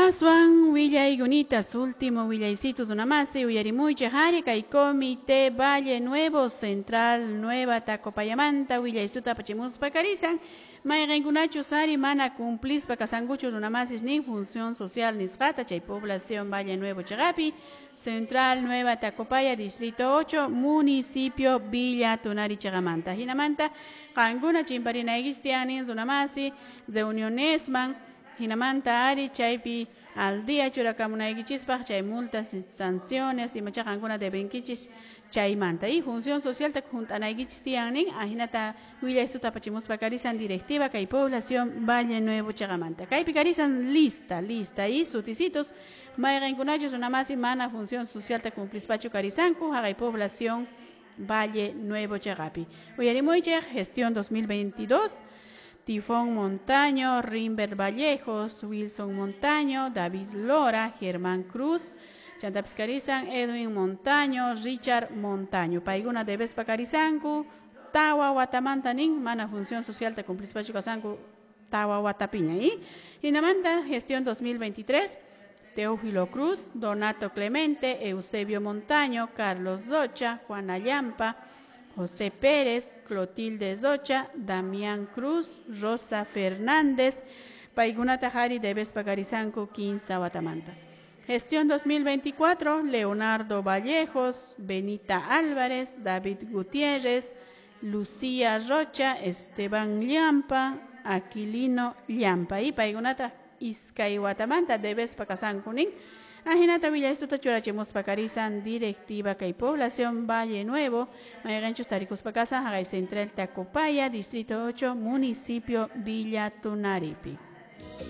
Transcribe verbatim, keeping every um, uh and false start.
Aswan willayunitas último willaysitus runamasi uyarimuychik ari kay Comité Valle Nuevo Central Nueva Tacopayamanta willaysuta apachimuspa karisan mayqinkunachus ari mana cumplispa kasankuchu runamasis nin función social nisqata chay población Valle Nuevo chiqapi Central Nueva Tacopaya Distrito ocho municipio Villa Tunari chiqamanta hinamanta qankuna chimparinaykichis tiyan runamasi reunionesman hinamanta ari chaypi al día churakamunaykichispaq chay multas sanciones imacha qankuna debenkichis chaymanta y función social ta junt'anaykichis tiyan nin ahinata willaysuta apachimuspa karisan directiva kay población Valle Nuevo chiqamanta kaypi karisan lista lista y sutisitos mayqinkunachus runamasi mana función social ta cumplispachu karisanku haqay población Valle Nuevo chiqapi uyarimuychik gestión dos mil veintidós Tifón Montaño, Rimber Vallejos, Wilson Montaño, David Lora, Germán Cruz, Chantapis karisan, Edwin Montaño, Richard Montaño. Paykuna debespa karisanku, tawa watamanta nin, mana función social ta cumplispachu kasanku, tawa watapiña. Y hinamanta gestión dos mil veintitrés, Teófilo Cruz, Donato Clemente, Eusebio Montaño, Carlos Rocha, Juana Llampa, José Pérez, Clotilde Rocha, Damián Cruz, Rosa Fernández, Paykunata hari debespa karisanku kinsa watamanta. Gestión dos mil veinticuatro, Leonardo Vallejos, Benita Álvarez, David Gutiérrez, Lucía Rocha, Esteban Llampa, Aquilino Llampa. Y paykunata iskay watamanta debespa kasanku nin. Ajinata willaystuta churachimuspa karisan directiva kay población Valle Nuevo, mayqinchus tarikuspa kasan haqay Central Tacopaya, Distrito ocho, municipio Villa Tunaripi.